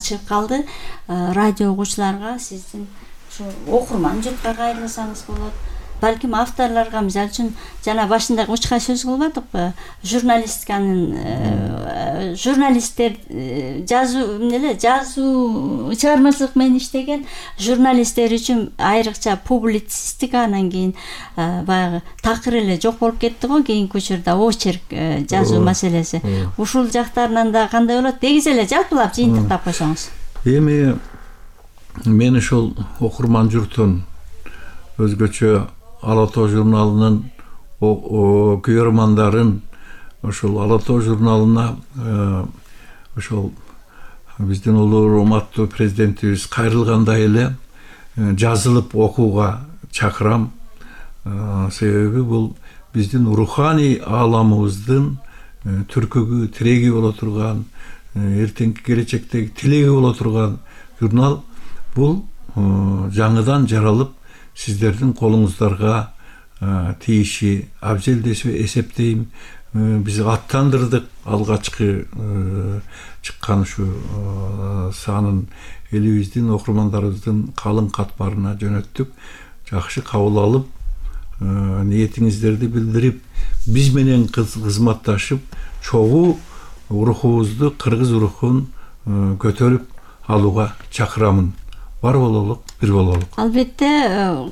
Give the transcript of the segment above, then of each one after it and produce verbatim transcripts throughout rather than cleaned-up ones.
чыгып калды. Радио угуучуларга, сиздин ушу окурман журтка кайрылсаңыз болот. Балким авторлорго, мисалы үчүн жана башында учка сөз кылбадыкпы? Журналистканын журналисттер жазуу эмне жазуу чыгармачылык менен иштеген журналисттер үчүн айрыкча публицистика, анан кийин баягы такыр эле жок болуп кетти го кийинки учурда очерк жазуу маселеси. Ушул жактарынан да кандай болот? Дегиз эле жалпылап жыйынтыктап койсоңуз. Эми мен ушул окурман журтун өзгөчө Ала Тоо журналынын көрөрмандарын ошол Ала Тоо журналына ошол биздин улуу урматтуу президентибиз кайрылгандай эле жазылып окууга чакырам. Себеби бул биздин руханий ааламыбыздын түркүгү, тиреги боло турган, эртеңки келечектеги тилеги боло турган журнал. Бул жаңыдан жаралып сиздердин колуңуздарга тийиши абзел деп эсептейм. Биз аттандырдык алгачкы чыккан ушу санын элибиздин окурмандарыбыздын калың катмарына жөнөттүк. Жакшы кабыл алып, ниетиңиздерди билдирип, биз менен кызматташып, чогуу рухубузду, кыргыз рухун көтөрүп алууга чакырамын. Бар бололук, бир бололук. Албетте,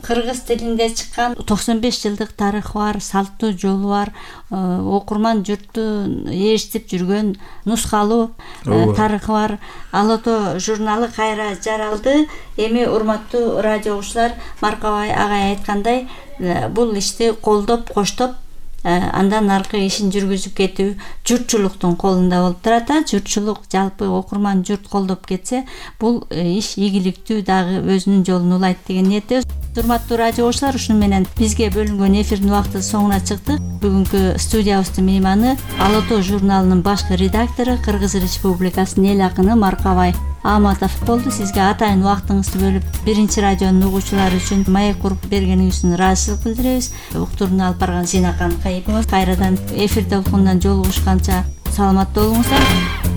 кыргыз тилинде чыккан токсон беш жылдык тарыхы бар, салттуу жолу бар, окурман журтту ээрчитип жүргөн нускалуу тарыхы бар. Ала Тоо журналы кайра жаралды. Эми урматтуу радио угуучулар, Маркабай агай айткандай, бул ишти колдоп, коштоп, андан аркы ишин жүргүзүп кетүү журтчулуктун колунда болуп турат. Журтчулук, жалпы окурман журт колдоп кетсе, бул иш ийгиликтүү дагы өзүнүн жолун улайт деген ниетте. Урматтуу радио угуучулар, ушуну менен бизге бөлүнгөн эфирдин убакыты соңуна чыкты. Бүгүнкү студиябыздын мейманы Ала Тоо журналынын башкы редактору, Кыргыз Республикасынын эл акыны Маркабай Аматов болду. Сизге атайын убактыңызды бөлүп, биринчи радионун угуучулары үчүн маек куруп бергениңиз үчүн ыраазычылык билдиребиз. Уктурууну алып барган Зинакан Кайыпова. Кайрадан эфир толкунунан жолугушканча саламатта болуңуздар.